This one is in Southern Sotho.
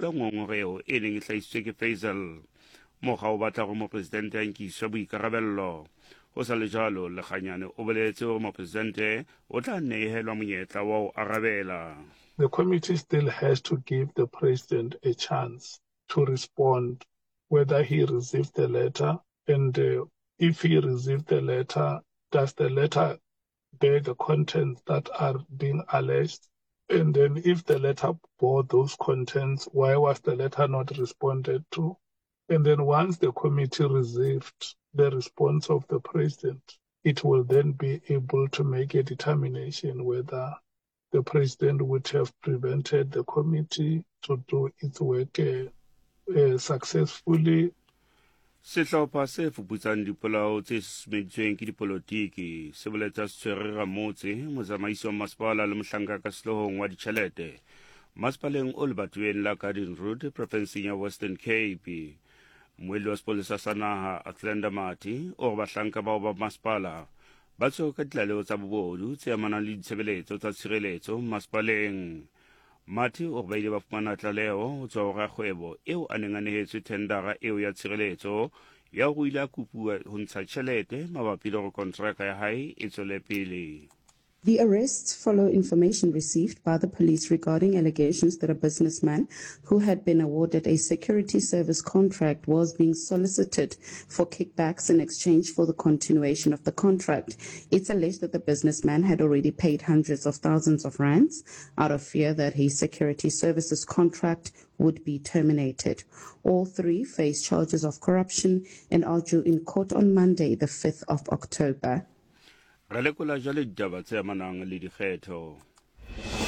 Ngongoreho e neng e hlahisitswe ke Faisal. Mokga o batla hore mopresidente a nkiswe boikarabello. Ho sa le jwalo, Lekganyane o boletse hore mopresidente o tla nehelwa monyetla wa ho arabela. The committee still has to give the president a chance to respond whether he received the letter and if he received the letter, does the letter bear the contents that are being alleged? And then if the letter bore those contents, why was the letter not responded to? And then once the committee received the response of the president, it will then be able to make a determination whether the president would have prevented the committee to do its work uh, uh, successfully. Sehlopha se fuputsang dipolao tse susumeditsweng ke dipolotiki se boletse se tshwere ramotse, motsamaisi wa masepala le mohlanka ka sehloohong wa ditjhelete masepaleng o lebatoweng la Garden Route profenseng ya Western Cape. Mmuelli wa sepolesa sa naha Athlenda Mathe o re bahlanka bao ba masepala ba tshwerwe ka ditlaleho tsa bobodu tse amanang le ditshebeletso tsa tshireletso masepaleng. Mathe o re ba ile ba fumana tlaleho ho tswa ho rakgwebo eo a neng a nehetswe thendara eo ya tshireletso ya hore o ile a kopuwa ho ntsha tjhelete mabapi le hore kontraka ya hae e tswele pele. The arrests follow information received by the police regarding allegations that a businessman who had been awarded a security service contract was being solicited for kickbacks in exchange for the continuation of the contract. It's alleged that the businessman had already paid hundreds of thousands of rands out of fear that his security services contract would be terminated. All three face charges of corruption and are due in court on Monday, the 5th of October. Re lekola jwale ditaba tse amanang le dikgetho.